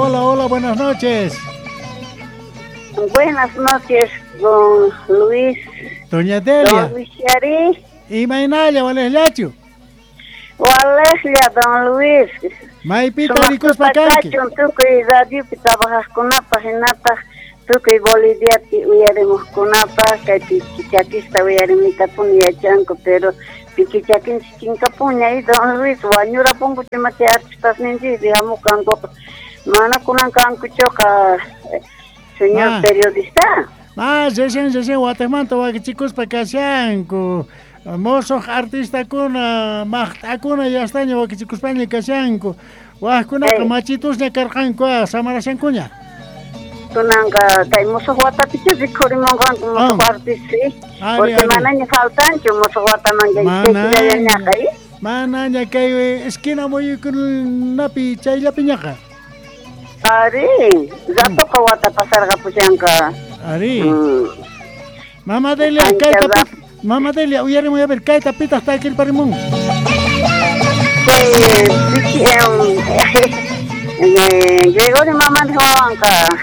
Hola, hola, buenas noches. Buenas noches, don Luis. Doña Delia. Don Luis Yari. Imaynalla, walejllachu. Walejlla, don Luis. Maypita rikuspa kanki. Tukuy radiopi trabajaqkunapaq hinataq tukuy Boliviapi uyarimuqkunapaq kay pikichakista uyarimuytapuni yachanku, pero pikichakinchik chinkapunña y don Luis wañurapunku ima chay artistasninchikpi hamukankuqa mana kunan kankuchuqa, señor periodista. Recién recién wateqmanta wakichikuspa kashanku. Mosuq artistakuna, maqt'akuna yastaña wakichikuspaña kashanku. Waqkunaqa machitusña karqanku, samarashankuña. Kunanqa kay musuq watapichu rikhurimunqanku musuq artista, porque manaña faltanchu musuq wataman kay. Manaña kay esquina muyuykunapi chayllapiñaqa. Ari, ratoqa wata pasarqapushanqa. Ari. Mama Delia, kayta Mama Delia, uyarimuy a ver, kayta pitaq takirparimun. Gregorio Mamani wawanqa.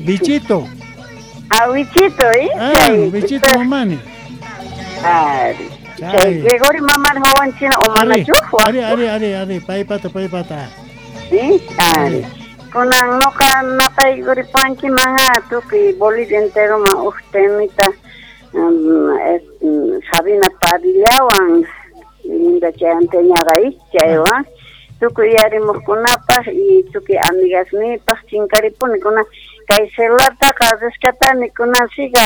Bichito. Ah, Bichito, ¿eh? Bichito Mamani. Ari. Chay Gregorio Mamani wawanchina o manachu? Ari, ari, ari, ari, paypata, paypata. Sí, ari. Kunan noqa napaykuripwankiman tukuy Bolivia enteroman uj temita Sabina Padillawan linda chay anteñaqa chaywan tukuy yarimuqkunapaq y tukuy amigasniypaq chinkaripuni kunan kay celulartaqa rescatani kunan siga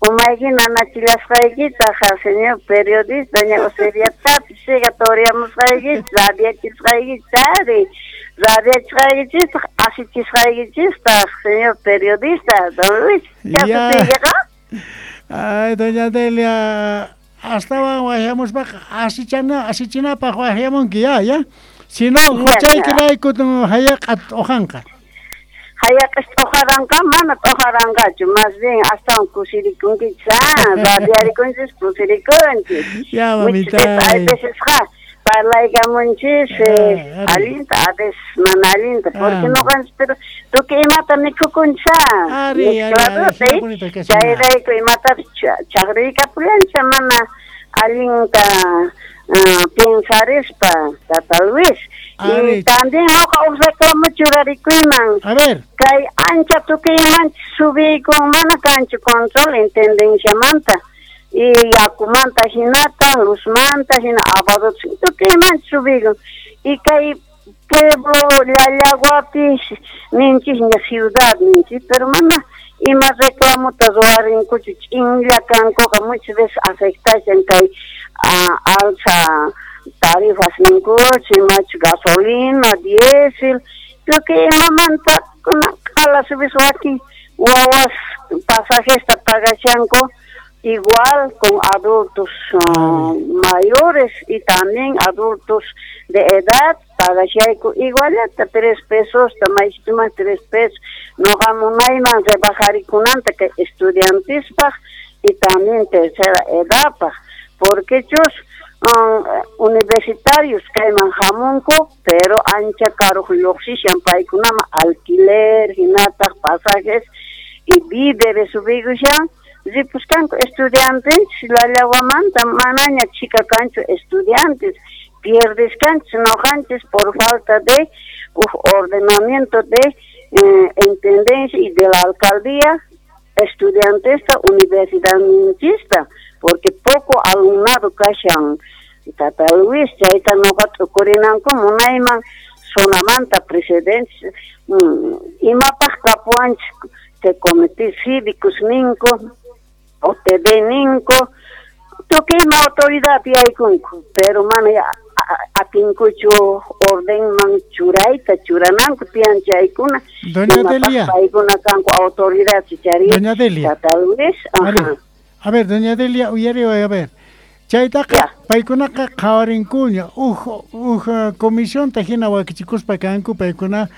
umayki nanachillasqaykitaqa señor periodista ña Oseriatapis siga toriamusqaykita radiachisqaykita ari radiachisqaykichistaq asichisqaykichistaq señor periodista don Luis. Chasutiykiqa. Ay, doña Delia, astawan waqyamuspaqa asichinapaq waqyamunki ya, ya. Si no, huchaykirayku hayaqa t'uqanqa. Hayaqis t'uqaranqa mana t'uqaranqachu, más bien astawan kusirikunkichis, radiarikunchis kusirikunchis. Ya, mamita. Hay vecesqa parlaykamunchis allinta, a veces mana allinta, porque noqanchis pero tukuy imata mikhukunchis, chayrayku imatapis chaqruykapullanchis mana allinta pensarispa, Tata Luis. Y también noqa uj reclamo churarikuyman. A ver. Kay ancha tukuymanchis subiykun mana kanchu control intendenciamanta. Y yakumanta hinata, luzmanta hina, abadots tukuymanchis subiykun. Y kay pueblo Llallaguapi ninchisña ciudad ninchis, pero mana ima reclamota ruwarinkuchu ch'inlla kankuqa muchas veces afectashan kay alza tarifas ninkuchu, imachu gasolina, diésel, tukuy imamanta q'ala subis wakin wawas pasajesta pagashanku igual con adultos mayores y también adultos de edad pagashayku igualata 3 pesos, maychituman 3 pesos, noqa munayman rebajarikunanta kay estudiantespaq y también tercera edadpaq, porque chus universitarios kayman hamunku, pero ancha karuq lluqsishan paykunaman alquiler, hinataq pasajes y víveres subikushan ripuskanku estudiantes Llallaguamanta manaña chika kanchu estudiantes, pierdeskanchis noqanchis por falta de uj ordenamiento de intendencia y de la alcaldía estudiantesta universidadninchista, porque poco alumnado kashan Tata Luis, chayta noqa t'ukurinanku munayman zonamanta presidente imapaq kapuwanchis chay comité cívicos ninku OTB ninku tukuy ima autoridad yaykunku, pero mana atinkuchu ordenman churayta churananku tiyan chaykuna. Doña Delia. Paykuna kanku autoridad chari. Doña Delia. Tata Luis. Ajá. A ver, doña Delia, uyariway, a ver. Chaytaqa paykunaqa qhawarinkuña uj comisionta hina wakichikuspa kanku paykuna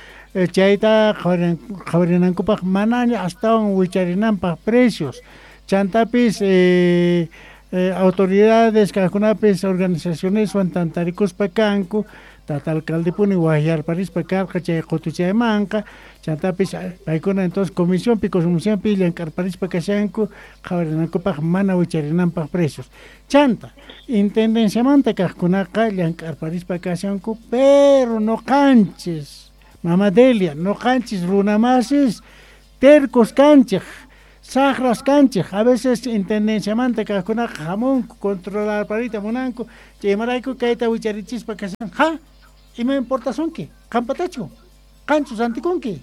chayta qhawarinankupaq manaña astawan wicharinanpaq precios. Chantapis autoridades kaqkunapis organizacioneswan tantarikuspa kanku Tata alcaldepuni waqyarparispa karqa chay qutuchaymanqa chantapis paykuna entonces comisionpi consumicionpi llank'arparispa kashanku qhawarinankupaq mana wicharinanpaq precios. Chanta intendenciamanta kaqkunaqa llank'arparispa kashanku, pero noqanchis Mama Delia, noqanchis runamasis tercos kanchik, saqras kanchik, a veces intendenciamanta kaqkunaqa hamunku controlarparita munanku, chaymarayku kayta wicharichispa kashan, ja, ima importasunki, qampatachu, qanchu rantikunki,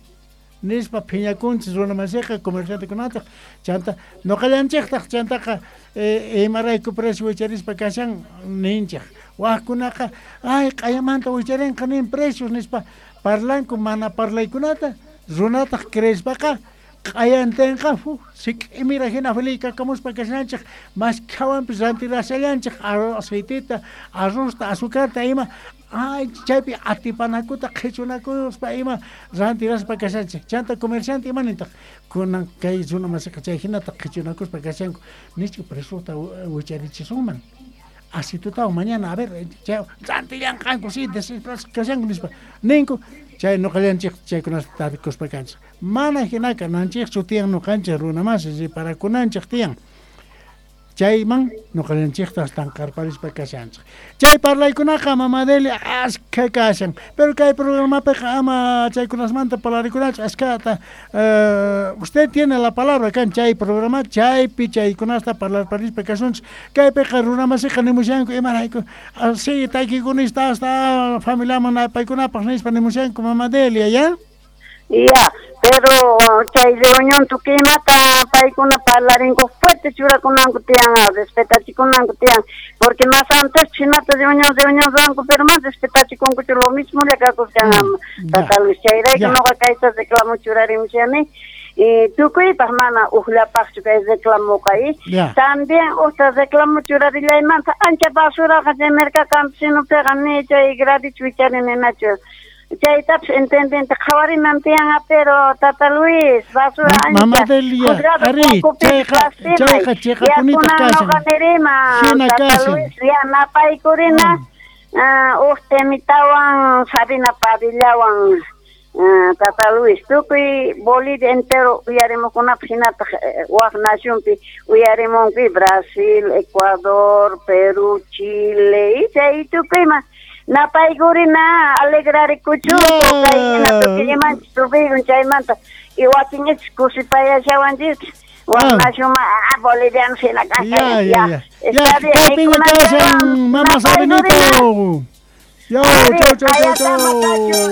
nispa phiñakunchis runamasiqa comerciantekunataq, chanta noqallanchiktaq chantaqa imarayku precio wicharispa kashan ninchik, waqkunaqa ay q'ayamanta wicharinqa nin precios nispa parlanku mana parlaykunata, runataq creespaqa q'ayantinqa sik'imira hina feliz-kakamuspa kashanchik, maskhawanpis rantirashallanchik aceitita, arrozta, azucarta ima, ay chaypi atipanakuta qhichunakuspa ima rantiraspa kashanchik. Chanta comerciante ima nintaq kunan kay runa masiqa chay hinata qhichunakuspa kashanku, nichku preciota wicharichisunman, aceitutawan mañana a ver chay rantillanqanku si desesperados kashanku nispa ninku, chay noqallanchik chaykunata tarikuspa kanchik. Mana hinaka nanchikchu tiyan noqanchik runamasi riparakunanchik tiyan. Chayman noqallanchikta tanqarparispa kashanchik. Chay parlaykunaqa Mama Delia askha kashan, pero kay programapiqa ama chaykunasmanta parlarikunachu askhata. Usted tiene la palabra kan chay programa chaypi chaykunasta parlarparispa kasunchik. Kaypiqa runamasiqa nimushanku imarayku si taykikunista hasta familiaman paykunapaq nispa nimushanku Mama Delia, ya? Ya, pero chay reunión tukuy imata paykuna parlarinku fuerte churakunanku tiyan, respetachikunanku tiyan, porque más antes chinata reunión reunión ruwanku, pero más respetachikunkuchu, lo mismo le kakuskan Tata Luis, chayrayku noqa kayta reclamo churarimushani, y tukuypaq mana uqllapaqchu kay reclamoqa y también uqta reclamo churarillaymanta ancha basuraqa chay mercado campesinopiqa ni chay gradichu wicharininachu. Chaytapas intendente qhawarinan tiyan, pero Tata Luis, basura ancha. Mama Delia, ari, chayqa chiqapunita kashan. Noqa nirima, Tata Luis, ya napaykurina, uq temitawan Sabina Padillawan, Tata Luis, tukuy Bolivia entero uyarimukunapaq hinataq waq nacionpi uyarimunki Brasil, Ecuador, Perú, Chile, y chay tukuyman. Napaykurina alegrarikuchunku kay hina tukuy imanchis tupikun chaymanta y wakinchis kusipayashawanchis waq nacionman bolivianos hina kashan. Ya, ya. Kaypiña kashan, Mama Sabinito. Yo, chau, chau, chau, chau.